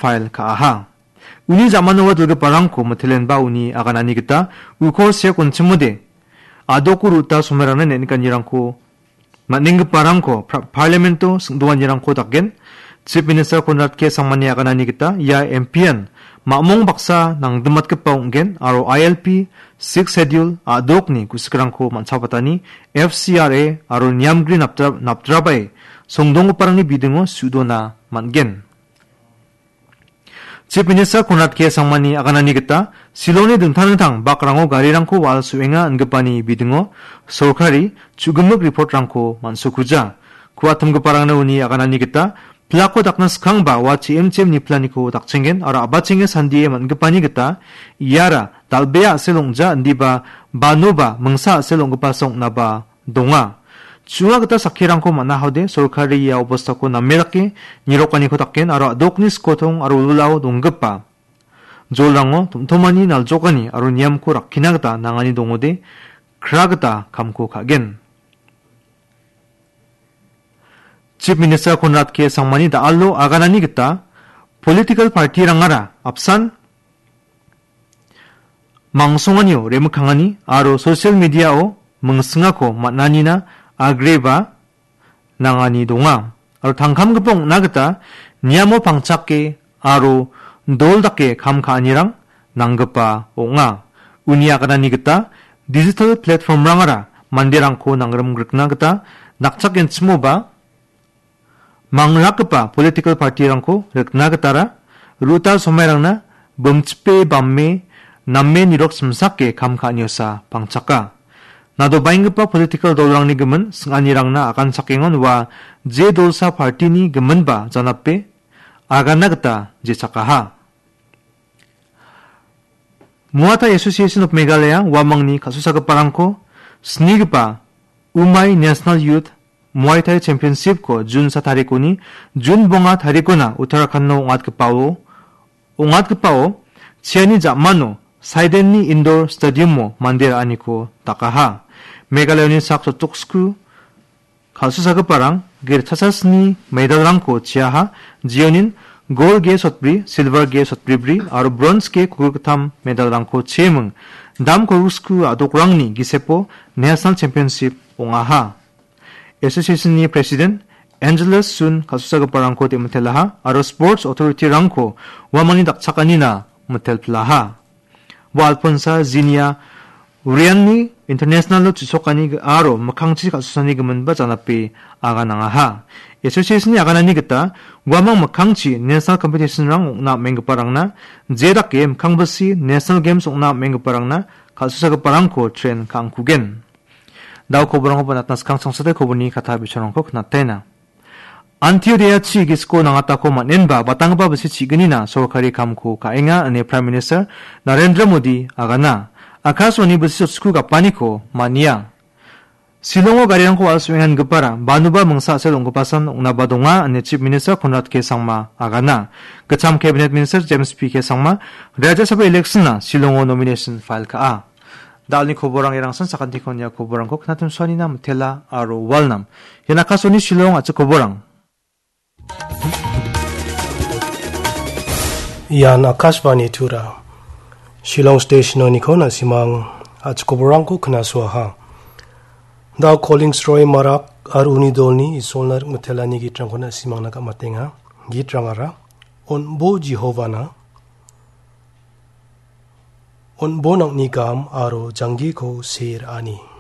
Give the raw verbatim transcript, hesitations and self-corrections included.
file ka·aha. Uni jamanoa dilgiparangko mitelenba uni aganani gita uko sek on·chimode a·doko ruta somerangna neng·nikanirangko man·enggiparangko pra-, Parlamento sing·doanirangko dakgen. Chief Minister Conrad K Sangmani aganani gita ia M P-an mamong baksa nangdimatgipa ong·gen aro I L P, Sixth Schedule, a·dokni gu·sikrangko man·sabatani F C R A aro niamgri napdra-, napdrabae songdonggiparangni bidingo su·dona man·gen. Chief Minister Conrad K Sangmani aganani gita Shillongni dingtang dingtang bakrango garirangko wal su·enga ingipani bidingo sorkari chu·gimik report-rangko man·sokuja. Ku·atimgiparangna uni aganani gita pilako dakna skangba ua chi em chi em ni pilaniko dakchenggen aro a·bachenge sandie man·gipani gita iara dal·bea a·sel ong·ja indiba banoba mingsa a·sel ong·gipasa ong·naba donga. Chu·a gita sakkirangko man·ahode sorkari ia obostako name dake nirokaniko dakgen aro a·dokni skotong aro wilwilao donggipa jolrango tom·tomani naljokani aro niamko rakkina gita nangani dongode kra gita kamko ka·gen. Chief Minister Conrad K Sangmani da·alo aganani gita political party-rangara apsan mangsonganio remikkangani aro social media-o mingsingako man·anina agreba nangani donga. Aro tangkamgipa ong·na gita niamo pangchake aro dol dake kam ka·anirang nanggipa ong·a. Uni aganani gita digital platform-rangara manderangko nangrim rikna gita nakchakgenchimoba mangrakgipa political party-rangko rikna gitara ruta somairangna bimchipe bamme name nirok simsake kam ka·aniosa pangchaka. Nadobaenggipa political dolrangni gimin sing·anirangna aganchakengon ua je dolsa party-ni giminba janape agana gita jechakaha. Muay Thai Association of Meghalaya uamangni kal·susagiparangko snigipa Umai National Youth Muay Thai Championship-ko June sa tarikoni June bonga tarikona Uttarakhando ong·atgipao, ong·atgipao chiani ja·mano Saidenni Indoor Stadium-o mande ra·aniko dakaha. Meghalayani sak jottoksku kal·susagiparang gerchasasni medalrangko chiaha, jionin gol ge sotbri, silver ge sotbribri aro bronze ge kogilgittam medalrangko cheming dam kogilsku a·dokrangni gisepo National Championship ong·aha. Association-ni President Angelus Sun kal·susagiparangko dem·mitelaha aro Sports Authority-rangko uamangni dakchakanina mitelpilaha. Ua Alphonsa Zinia Urianni international-o chisokani g-, aro mikkangchi kal·susani giminba janape aganangaha. Association-ni aganani gita uamang mikkangchi national competition-rang ong·na am·enggiparangna, je dake mikkangbisi National Games ong·na am·enggiparangna kal·susagiparangko train ka·angkugen. Dao koborangkoba natna skang changsatai koborni kata bicharangko knataina. Antyodaya chi gisiko nangatako man·enba batanggipa bisi chignina sorkari kamko ka·enga ine Prime Minister Narendra Modi agana. Akashvani bisi chotsku gapaniko man·ia. Shillongo garirangko wal su·engangipara banuba mingsa a·sel ong·gipasan ong·naba donga ine Chief Minister Conrad K Sangma agana. Gitcham Cabinet Minister James P K Sangma Rajya Sabha election-na Shillongo nomination file ka·a. Dalni koborang erangsan sakantikon ia koborangko knatim suanina mitela aro walnam. Ian Akashvani Shillong a·chik koborang. Ian Akashvani Tura. Shillong Station-oniko na·simang a·chik koborangko knasuaha. Dao Collins Roy Marak aro uni dolni Isolna rikmitelani gitrangko na·simangna gam·atenga. Gitrangara, On·bo Jehovana, On·bo nang·ni gam aro janggiko see ra·ani.